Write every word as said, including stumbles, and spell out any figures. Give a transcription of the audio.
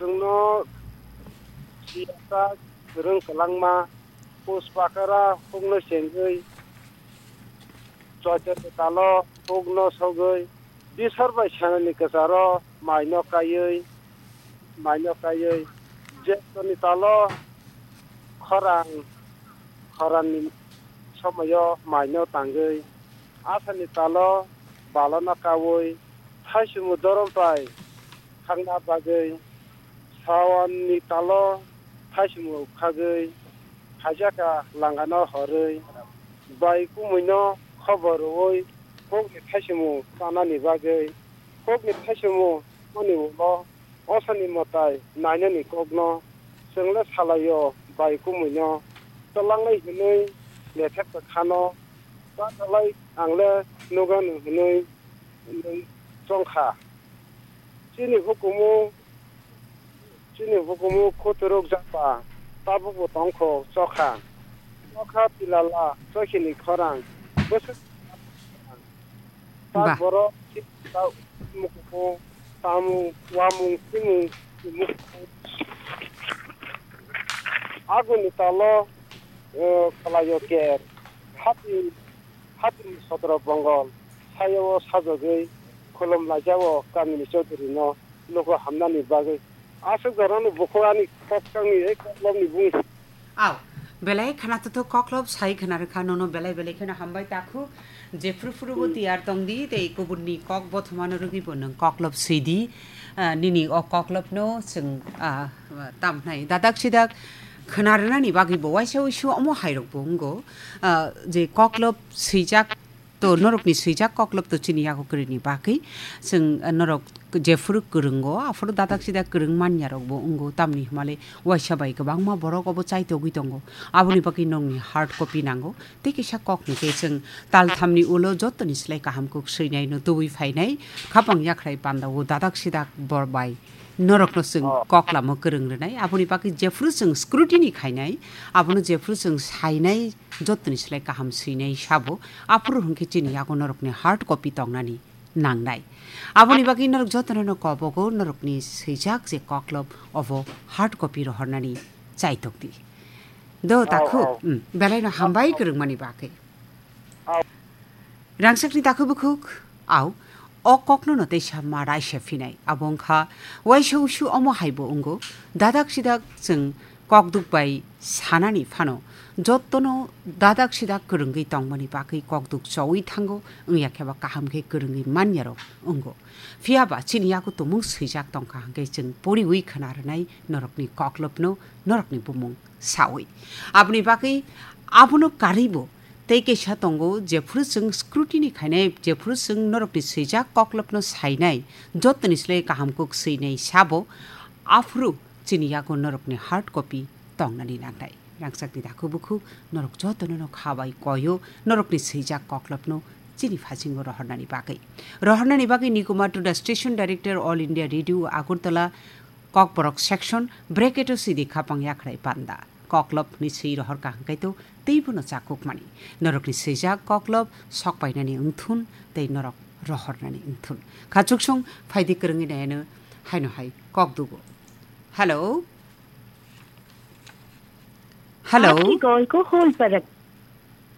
Chwngno siyasa kwrwng kwlangma, puspakara hukno chengwi, choitoni talo hukno sogwi, bisor bai sanani kwcharo maino kaiwi, maino kaiwi, jetoni talo khorang, khoranni somoyo maino tangwi, asani talo balano kaui, thaichwngmo dorom bai thangna bagwi, sawanni talo thaichwngmo khagwi, haijakha langano horwi, bai kumuino khobor rwui, hukni thaichwngmo chanani bagwi, hukni thaichwngmo mani ulo, osani mwtai nainani kokno, chwngle salaio bai kumuino, twlangnai hwnwi lethek kwkhano, ta talai angle nugano hwnwi nwng chongkha. Chini hukumu, chini hukumu khuturuk japa, tabukbo tongkho chokha. Chokha tilala chokhini khorang, bwswk tak Ba. Borok chini ta mukumu, tamung, wamung, simung, mukumu. Aguni talo, eh, kalaio ker, hati, hati sodro bongol, sayao sajagwi khulum laijao kamini chaudhurino. Lugo hamnani bagwi. Aswk jorano bukhuk ani kok tangwi ei koklopni bung. Aw, belai khana tuthuk koklop sai khana rwkha nono belai belai kheno hambai takhuk. Jephru phuru bo Hmm. tiyar tongdi tei kubunni kok bothomano rwgwi bo nwng koklop swidi. Ah, nini o koklopno chwng, ah, tamhnai dadak sidak khna rwnani bagwi bo waisa uisu omo hairok bo wngo. Ah, je koklop swijak To norokni swijak koklop to chini yago kwrwini bagwi. Chwng, eh, norok jephuru kwrwngo, aphuru dadak sidak kwrwng manyarokbo wngo, tamni hwnmale waisa bai kwbangma borok obo chaitogwi tongo. Aboni bagwi norokni hard copy nango. Tei kisa kokni khe chwng talthamni ulo jottoni slai kaham kuk swinaino tubui phainai, khapang yakhrai pandao dadak sidak bor bai norokno chwng Oh. koklamo kwrwng rwnai. Aboni bagwi jephuru chwng scrutiny khainai, abono jephuru chwng sainai, jottoni slai kaham swinai sabo, aphuru hwnkhe chini yago norokni hard copy tongnani nangnai. Aboni bagwi norok jotono no kobogo norokni swijak je koklop obo hard copy rohornani chaitokdi. Do Oh, takhuk, oh. mm, belaino hambai Oh. kwrwngmani bagwi. Oh. Rangchakni takhuk bukhuk, au, o kokno no teisa ma raisa phinai. Abo wngkha, waisa usu omo haibo wngo, dadak sidak chwng kokduk bai sanani phano, jottono dadak sidak kwrwngwi tongmani bagwi kokduk chowi thango, wngya khe ba kaham khe kwrwngwi manyarok wngo. Phiya ba chini yago tumung swijak tongkha hwnkhe chwng poriwi khna rwnai norokni koklopno, norokni bumung sawi. Aboni bagwi abono karwibo tei kaisa tongo, jephuru chwng scrutiny khainai, jephuru chwng norokni swijak koklopno sainai, jottoni slai kaham kuk swinai sabo, aphuru chini yago norokni hard copy tongnani nangnai. Rangchakni dakhu bukhu norok jotono no kha bai koyo, norokni swijak koklopno chini phasingo rohornani bagwi. Rohornani bagwi Niguma Tuda Station Director, All India Radio Agartala, Kokborok section, bracket o sidi khapang yakhrai panda. Koklop hwnwi swi rohor kaham kaitu teibo no chakukmani. Norokni swijak koklop sok painani wngthun tei norok rohornani wngthun. Khachuksong phaidi kwrwngwi naiano haino hai kokdugo. Hello? Hello? आपकी कॉल को होल्ड पर रख।